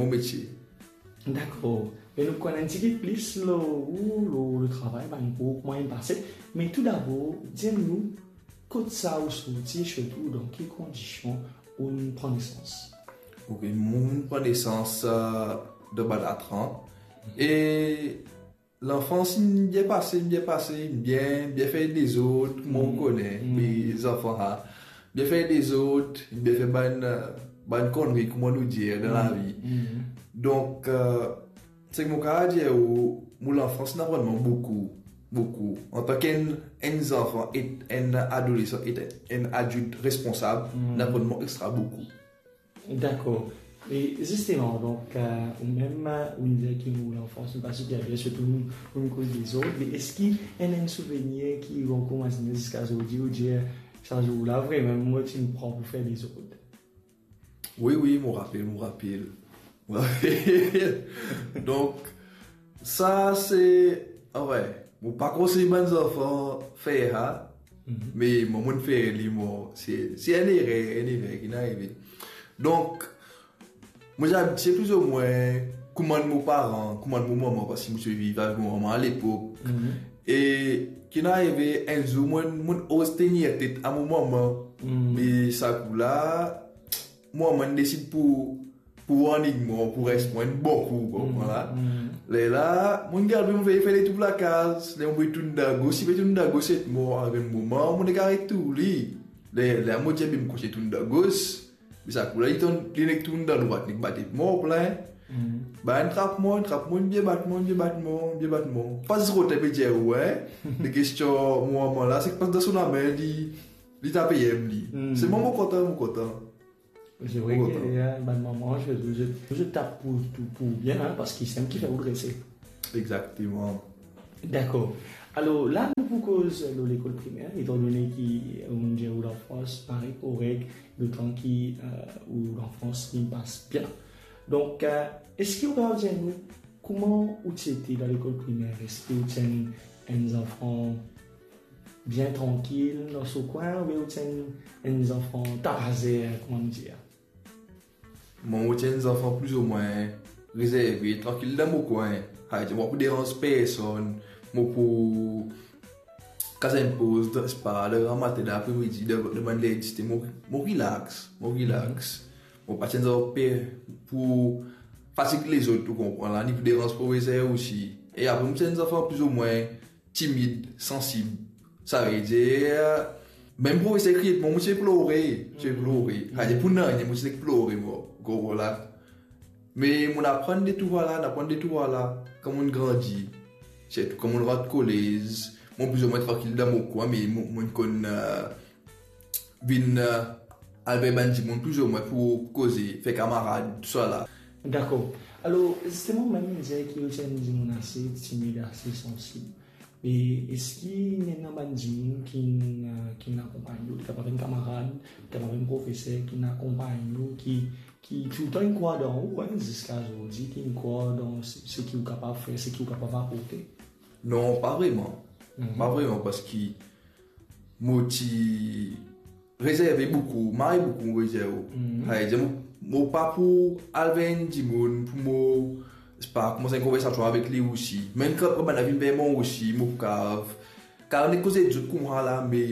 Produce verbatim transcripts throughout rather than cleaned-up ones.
mo metie. Dakor. Me nou konn enn tigit plis lor ou, lor, lor travay, bann kour, kouma inn pase. Me toudabor, dir nou, kot sa ou sorti, sirtou dan ki kondision ou pran nesans? Ok, mo pran nesans, euh, dan bann Atran. E lanfans inn bien pase, inn bien pase, inn bien, bien fer dezord, kouma ou kone, me zanfan la, bien fer dezord, bien fer bann, euh, bann konnri, kouma nou dir, dan lavi. Donk, euh, seki mo kapav dir ou, mo lanfans inn aprann mwa boukou, boukou. Antan ki enn, enn zanfan, e enn adolesan, e enn adilt responsab, inn aprann mwa extra boukou. Dakor. E zisteman, donk, euh, ou mem, euh, ou dir ki mo lanfans inn pa siper bien, sirtou nou, nou koz dezord, me eski ena enn souvenir ki ou ankor mazine ziska zordi, ou dir, sa zour la, vremem, mo ti pran pou fer dezord? Wi, wi, mo rapel, mo rapel. Mo rapel. Donk, sa se, anfin, mo pa konsey bann zanfan fer sa, me mwa, mo'nn fer li, mwa, se, se enn erer, enn erer ki'nn arive. Donk, mo ti abitie plizoumwin kouma mo paran, kouma mo mama, parski mo ti viv avek mo mama alepok. E ki'nn arive, enn zour, mo'nn, mo'nn oz tenir tet a mo mama. Me sa kou la, mo mama desid pou, pou warning mwa, pou res mwa enn bon kou, konpran la. Lerla, mo'nn gard, mo'nn vey fer letour lakaz, ler mo pe tourn dan gos, si pe tourn dan gos, se mwa, avek mo mama, mo'nn gard tourn li. Ler, ler mo dir, be mo kontign tourn dan gos, me sa kou la, li tourn, li nek tourn dan drwat, nek bat mwa plin. Ba, inn trap mwa, inn trap mwa, inn bien bat mwa, inn bien bat mwa, inn bien bat mwa. Pa zis rod pe dir, wi. Lekestion mo mama la, seki pas dan so lame, li, li ta pe em li. Selman mo kontan, mo kontan. Se vre ki, eh, bann mama, zot, zot, zot tap pou, pou, pou bien, hein, parski se li ki fer ou drese. Exakteman. Dakor. Alor, la, nou pou koz lor lekol primer, etandone ki, eh, ou dir ou lanfans pa korek, letan ki, eh, ou lanfans inn pas bien. Donk, eh, eski ou kapav dir nou kouma ou ti ete dan lekol primer? Eski ou ti enn, enn zanfan bien trankil dan so kwin, oubien ou ti enn, enn zanfan tapazer, kouma nou dir? Mwa, mo ti enn zanfan plizoumwin rezerve, trankil dan mo kwin. Savedir, mo pa pou deranz personn, mo pou kaz enn poz, dan, sepa, dan gramatin, dan apremidi, dan, dan bann ler diste, mo, mo relax, mo relax. Mo pa ti enn zanfan pe pou fatig lezot, ou konpran la, ni pou deranz profeser osi. E apre, mo ti enn zanfan plizoumwin timid, sansib. Savedir, mem profeser kriye mwa, mo ti pe plore, ti pe plore. Savedir, pou nanye, mo ti nek plore, mo, gro la. Me mo'nn aprann de tousala, mo'nn aprann de tousala, kan mo'nn grandi. Sirtou kan mo'nn rant kolez, mo plizoumwin trankil dan mo kwin, me mo, mo'nn konn, eh, vinn, eh, al ver bann dimoun plizoumwin pou koze, fer kamarad, tousala. Dakor. Alor, zisteman, mem dir ki ou ti enn dimoun ase timid, ase sansib. E eski ena bann dimoun ki, eh, ki akonpagn ou, kapav enn kamarad, kapav enn profeser ki akonpagn ou, ki, ki toultan inn krwar dan ou, hein, ziska zordi, ki inn krwar dan se, seki ou kapav fer, seki ou kapav aporte? Non, pa vreman. Pa vreman, parski mo ti rezerve boukou, mari boukou, mo rezerve. Savedir, mo, mo pa pou al ver enn dimoun, pou mo, sepa, koumans enn konversasion avek li osi. Mem kan bann la vinn ver mwa osi, mo pou kav, kav nek koze zot koumsa la, me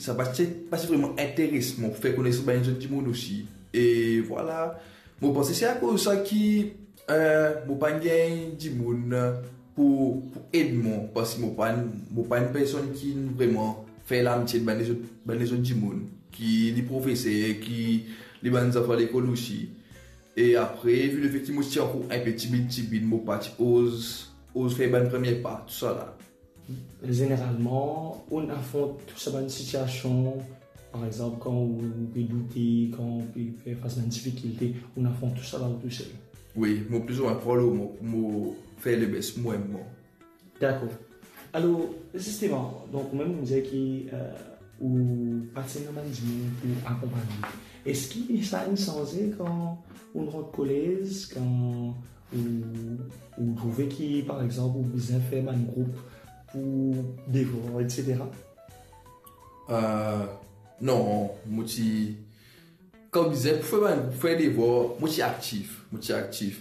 sa pa ti, pa ti vreman interes mwa pou fer konesans bann lezot dimoun osi. E vwala, mo panse se akoz sa ki, eh, mo pa'nn gagn dimoun pou, pou ed mwa, parski mo pa'nn, mo pa enn personn ki vreman fer lamitie ek bann lezot, bann lezot dimoun, ki li profeser, ki li bann zanfan lekol osi. E apre, vi lefet ki mo ti ankor enpe timid, timid, mo pa ti oz, oz fer bann premie pa, tousala. Zeneralman, ou afront tou sa bann sitiasion, par exanp, kan ou, ou pe doute, kan ou pe fer fas bann difikilte, ou afront tousala ou tousel? Wi, mo plizoumwin pran lor mwa, mo fer lebes mwa mem. Dakor. Alor, zisteman, donk, ou mem ou dir ki, eh, ou pa ti ena bann dimoun pou akonpagn ou. Eski sa inn sanze kan ou rant kolez, kan ou, ou trouve ki, par exanp, ou bizin fer bann group pou devwar, et cetera? Eh, non, mo ti, kan bizin pou fer bann group, fer devwar, mo ti aktif, mo ti aktif.